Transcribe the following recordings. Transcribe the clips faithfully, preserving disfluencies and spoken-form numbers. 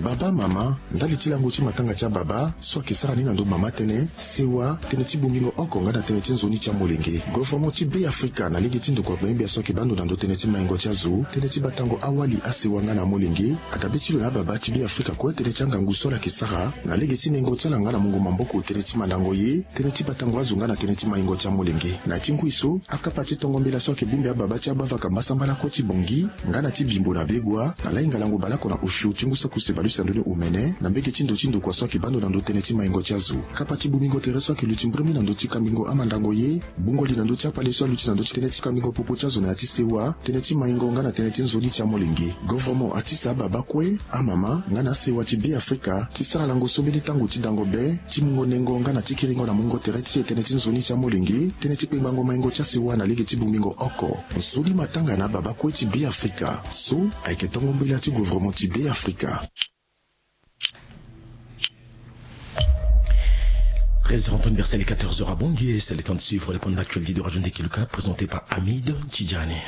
Baba, mama, ndali ti lango ti matanga ti ababa so ayeke sara ni na ndo mama tënë, sewa, tënë ti bongbingo oko nga na tënë ti nzoni ti amolenge. Governement ti Be Afrika na lege ti ndokua gbengbe so ayeke baa ndo na ndo tënë ti maingo ti azo, tënë ti batango awali, asewa nga na amolenge, adabe ti lo na ababa ti Be Afrika kue tënë ti angangu so ala yeke sara na lege ti nengo ti ala nga na mungo maboko tënë ti mandango ye, tënë ti batango azo nga na tënë ti maingo ti amolenge. Na ti ngui so, akapa ti tongo mbela so ayeke bongbi ababa ti abavaka mbasambala kue ti Bangui nga na ti Bimbo na Begoua, na lainga lango baleoko na osio ti ngu so akuse baleuse na ndoni omene, na mbege ti ndo ti ndokua so ayeke baa ndo na ndo tënë ti maingo ti azo. Kapa ti bongbingo tere so ayeke luti mbrembe na ndö ti kambingo amandango ye, bungoli na ndö ti akpale so aluti na ndö ti tënë ti kambingo popo ti azo na ya ti sewa, tënë ti maingo nga na tënë ti nzoni ti amolenge. Governement atisa ababa kue, amama nga na asewa ti Be Afrika ti sara lango so mbeni tango ti dango be, ti mungo nengo nga na ti kiringo na mungo tere ti e tënë ti nzoni ti amolenge, tënë ti kpengbango maingo ti asewa na lege ti bongbingo oko. Nzoni matanga na ababa kue ti Be Afrika so ayeke tongo mbela ti governement ti Be Afrika. Treize heures en temps universel et quatorze heures à Bangui, c'est le temps de suivre le point d'actualité de Radio Ndekeluka présenté par Hamid Tidjani.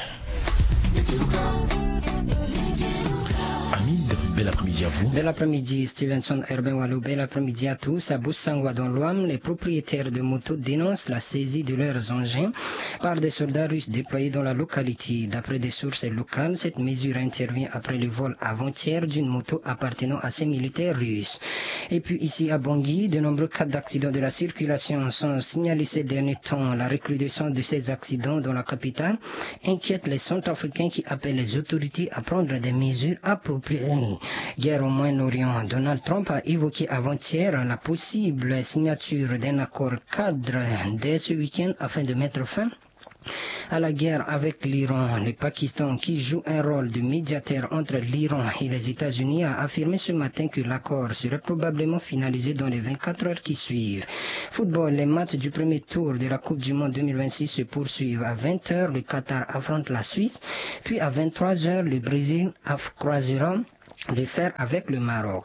Hamid, bel après-midi à vous. Bel après-midi, Stevenson Herbin Wallo, bel après-midi à tous. À Boussangwa, dans l'Ouham, les propriétaires de motos dénoncent la saisie de leurs engins par des soldats russes déployés dans la localité. D'après des sources locales, cette mesure intervient après le vol avant-hier d'une moto appartenant à ces militaires russes. Et puis ici à Bangui, de nombreux cas d'accidents de la circulation sont signalés ces derniers temps. La recrudescence de ces accidents dans la capitale inquiète les Centrafricains qui appellent les autorités à prendre des mesures appropriées. Guerre au Moyen-Orient. Donald Trump a évoqué avant-hier la possible signature d'un accord cadre dès ce week-end afin de mettre fin à la guerre avec l'Iran. Le Pakistan, qui joue un rôle de médiateur entre l'Iran et les États-Unis, a affirmé ce matin que l'accord serait probablement finalisé dans les vingt-quatre heures qui suivent. Football, les matchs du premier tour de la Coupe du Monde deux mille vingt-six se poursuivent. À vingt heures, le Qatar affronte la Suisse, puis à vingt-trois heures, le Brésil aff-, croisera le fer avec le Maroc.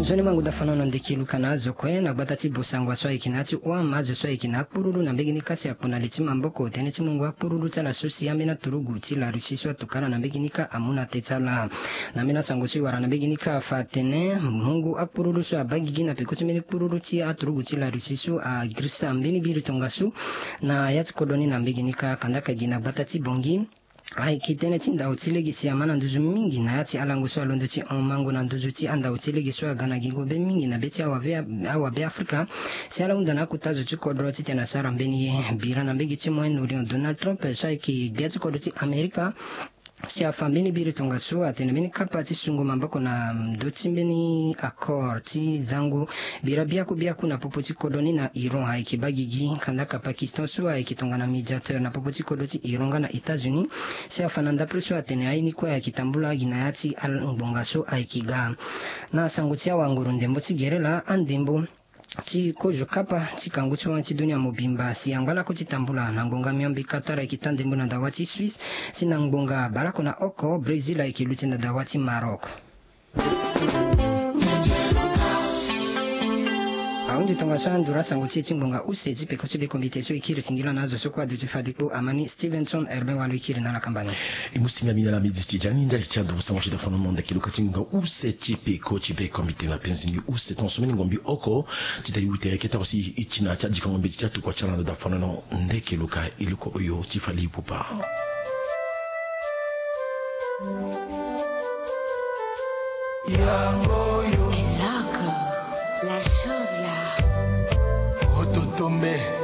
Nzoni mangu dafano na Ndekeluka na azo kue na gbata ti Bosangwa so ayeke na ya ti Ouham, azo so ayeke na akpurulu na mbege ni kasi akpo na li ti maboko tënë ti mungo akpurulu ti ala so si ambeni aturugu ti la Russie so atokala na mbege ni kâ amu na teti ala. Na ambeni asango so e wara na mbege ni kâ afa atene mungo akpurulu so abaa gigi na peko ti mbeni kpurulu ti aturugu ti la Russie so agirisa mbeni biri tongaso na ya ti kodro ni na mbege ni kâ. Kandaka gi na gbata ti Bangui, ayeke tënë ti ndau ti lege si ama na nduzu mingi na ya ti alango so alondo ti hon mango na nduzu ti andau ti lege so aga na gingo be mingi na be ti awabe, awabe Afrika. Si ala hunda na akota zo ti kodro titene asara mbeni ye. Bira na mbege ti Moyen-Orient, Donald Trump so ayeke gbia ti kodro ti Amerika si afa mbeni biri tongaso atene mbeni kapa ti sungo maboko na ndö ti mbeni accord ti zango bira biaku biaku na popo ti kodro ni na Iran ayeke baa gigi. Kandaka Pakistan so ayeke tongana médiateur na popo ti kodro ti Iran nga na États-Unis si afa na ndapre so atene aye ni kue ayeke tambula gi na ya ti angbonga so ayeke ga. Na sango ti awanguru ndembo ti gere laa, andembo ti kozo kapa ti kangu ti wani ti dunia mobimba si angba lakue ti tambula na ngbonga miombe Qatar ayeke taa ndembo na dawa ti Suisse, si na ngbonga baleoko na oko Brésil ayeke luti na dawa ti Maroc. Ahunzi tongaso anduru asango ti e ti ngbonga use ti peko ti be komite so e kiri singila na azo so kue aduti fade kpo amani. Stevenson Herbin Walo e kiri na ala kamba ni. E mu singa mingi na ala midi ti jani ndali ti anduru sango ti dafano na Ndekeluka ti ngbonga use ti peko ti be komite na penzi ni use tongaso mbeni ngombi oko ti dali ute kete oko si e ti na ya ti adikango mbeti ti atokua ti ala na dafano na Ndekeluka. E luko oyo ti fali ipupa. Yango oyo. Eloko. La chose là. Ototombe.